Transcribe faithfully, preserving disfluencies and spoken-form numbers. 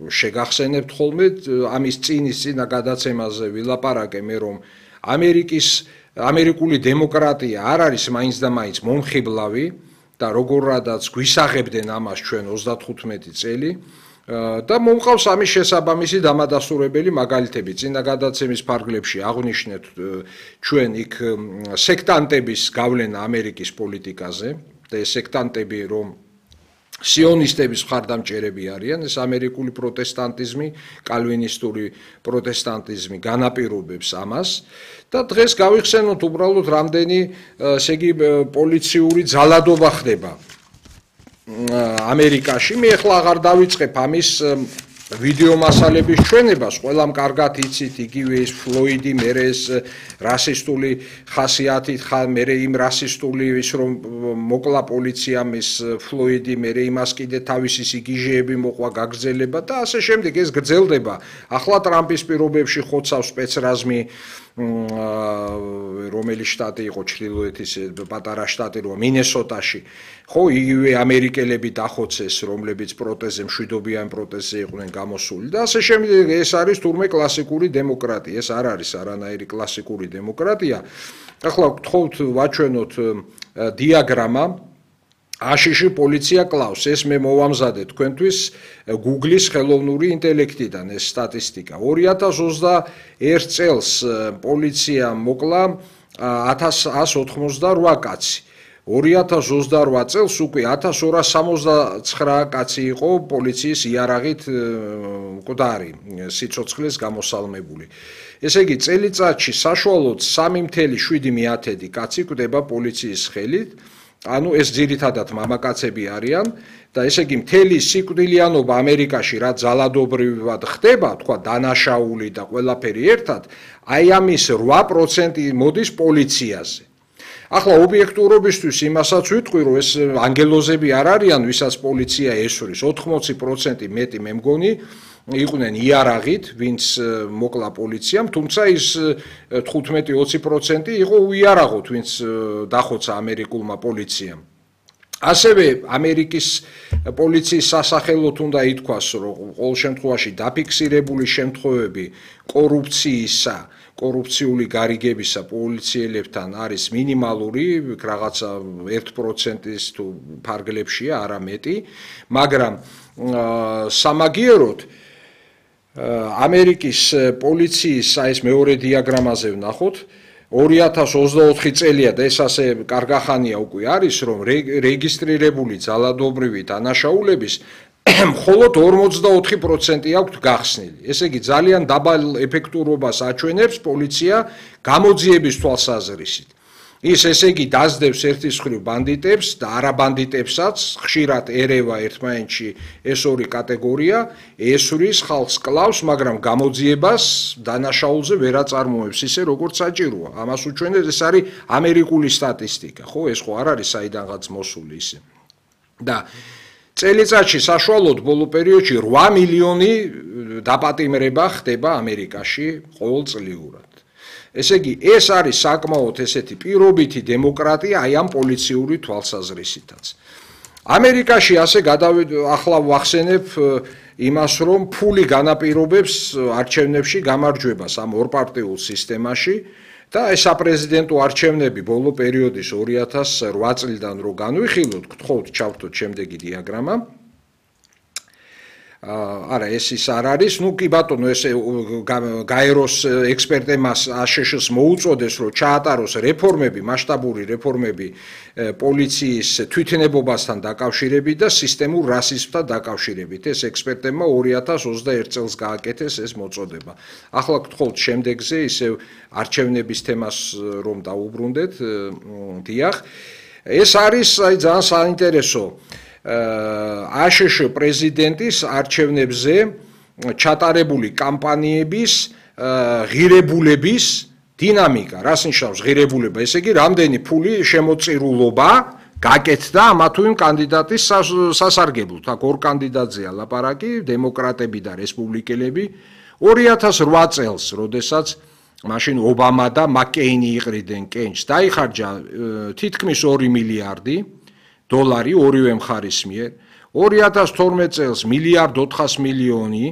შეგახსენებთ ხოლმე ამის წინის წინა გადაცემაზე ვილაპარაკე მე რომ ამერიკის ამერიკული დემოკრატია არ არის მაინც და მაინც მომხიბლავი და როგორადაც გვისაღებდნენ ამას ჩვენ ოცდათხუთმეტი წელი და მომყავს ამის შესაბამისი დამადასტურებელი მაგალითები. წინა გადაცემის ფარგლებში აღვნიშნეთ ჩვენ იქ სექტანტების გავლენა ამერიკის პოლიტიკაზე და ეს სექტანტები რომ სიონისტების მხარდამჭერები არიან, ეს ამერიკული პროტესტანტიზმი, კალვინისტური პროტესტანტიზმი განაპირობებს ამას და დღეს გავიხსენოთ უბრალოდ რამდენი ესე იგი პოლიციური ძალადობა ხდება ამერიკაში. მე ახლა აღარ დავიწყებ ამის ვიდეო მასალების ჩვენებას, ყველამ კარგად იცით, იგივე ის ფლოიდი, მერე ეს რასისტული ხასიათით, მერე იმ რასისტული ის რომ მოკლა პოლიციამ ის ფლოიდი, მერე იმას კიდე თავისი სიგიჟეები მოყვა გაგრძელება და ასე შემდეგ ეს გრძელდება. ახლა ტრამპის პირობებში ხოცავს სპეცრაზმი რომელი შტატი იყო ჩრდილოეთის პატარა შტატი როა მინესოტაში ხო იგივე ამერიკელები დახოცეს რომლებიც პროტეზე მშვიდობიან პროტეზე იყვნენ გამოსული და ასე შემდეგ ეს არის თურმე კლასიკური დემოკრატია ეს არ არის არანაირი კლასიკური დემოკრატია ახლა გთხოვთ ვაჩვენოთ დიაგრამა აშიში პოლიცია კლავს ეს მე მოვამზადე თქვენთვის Google-ის ხელოვნური ინტელექტიდან ეს სტატისტიკა ორი ათას ოცდაერთ წელს პოლიცია მოკლა ათას ათას ოცდაოთხმოცდარვა კაცი ორი ათას ოცდარვა წელს უკვე ათას ორას სამოცდაცხრა კაცი იყო პოლიციის იარაღით მკვდარი სიცოცხლეს გამოსალმებული ესე იგი წელიწადში საშუალოდ სამი ათეული შვიდი კაცი კვდება პოლიციის ხელით ანუ ეს ძირითადად მამაკაცები არიან და ესე იგი მთელი სიკვდილიანობა ამერიკაში რა ძალადობრივად ხდება, თქვა დანაშაული და ყველაფერი ერთად, აი ამის რვა პროცენტი მოდის პოლიციაზე. ახლა ობიექტურობისთვის იმასაც ვიტყვი, რომ ეს ანგელოზები არ არიან, ვისაც პოლიცია ესვრის, ოთხმოცი პროცენტი მეტი მე მგონი იყვნენ იარაღით, ვინც მოკლა პოლიციამ, თუმცა ის თხუთმეტი ოცი პროცენტი იყო უიარაღოთ, ვინც დახოცა ამერიკულმა პოლიციამ. ასევე ამერიკის პოლიციის სასახელოდ უნდა ითქვას, რომ ყოველ შემთხვევაში დაფიქსირებული შემთხვევები კორუფციისა, კორუფციული გარიგებისა პოლიციელებთან არის მინიმალური, რაღაცა ერთ პროცენტის თუ ფარგლებშია, არა მეტი, მაგრამ სამაგიეროდ ამერიკის პოლიციის ეს მეორე დიაგრამაზე ვნახოთ ორი ათას ოცდაოთხი წელია და ეს ასე კარგახანია უკვე არის რომ რეგისტრირებული ძალადობრივი დანაშაულების მხოლოდ ორმოცდაოთხი პროცენტი აქვს გახსნილი ესე იგი ძალიან დაბალ ეფექტურობას აჩვენებს პოლიცია გამოძიების თვალსაზრისით ის ესე იგი დაძდევს ერთის მხრივ ბანდიტებს და არაბანდიტებსაც ხშირად ერევა ერთმანეთში ეს ორი კატეგორია ესვრის ხალხს კლავს მაგრამ გამოძიებას დანაშაულზე ვერ აწარმოებს ისე როგორც საჭიროა ამას უჩვენებს ეს არის ამერიკული სტატისტიკა ხო ეს ხო არ არის საიდანღაც მოსული ისე და წელიწადში საშუალოდ ბოლო პერიოდში რვა მილიონი დაპატიმრება ხდება ამერიკაში ყოველწლიურად ესე იგი ეს არის საკმაოდ ესეთი პირობითი დემოკრატია აი ამ პოლიციური თვალსაზრისითაც ამერიკაში ასე ახლა ვახსენებ იმას რომ ფული განაპირობებს არჩევნებში გამარჯვებას ამ ორპარტიულ სისტემაში და ეს საპრეზიდენტო არჩევნები ბოლო პერიოდის ორი ათას რვა წლიდან რო განვიხილოთ გთხოვთ ჩავთოთ შემდეგი დიაგრამა არა ეს ის არ არის ნუ კი ბატონო ეს გაეროს ექსპერტებმა აშშ-ს მოუწოდეს რომ ჩაატაროს რეფორმები მასშტაბური რეფორმები პოლიციის თვითნებობასთან დაკავშირებით და სისტემურ რასიზმთან დაკავშირებით ეს ექსპერტებმა ორი ათას ოცდაერთ წელს გააკეთეს ეს მოწოდება ახლა გთხოვთ შემდეგზე ისევ არჩევნების თემას რომ დაუბრუნდეთ დიახ ეს არის აი ძალიან საინტერესო აშშ პრეზიდენტის არჩევნებზე ჩატარებული კამპანიების ღირებულების დინამიკა რას ნიშნავს ღირებულება ესე იგი რამდენი ფული შემოწირულობა გაკეთდა ამა თუ იმ კანდიდატის სასარგებლოდ აქ ორ კანდიდატზეა ლაპარაკი დემოკრატები და რესპუბლიკელები ორი ათას რვა წელს როდესაც მაშინ ობამა და მაკეინი იყრიდნენ კენჭს დაიხარჯა თითქმის ორი მილიარდი დოლარი ორივე მხარის მიერ ორი ათას თორმეტ წელს მილიარდ ოთხას მილიონი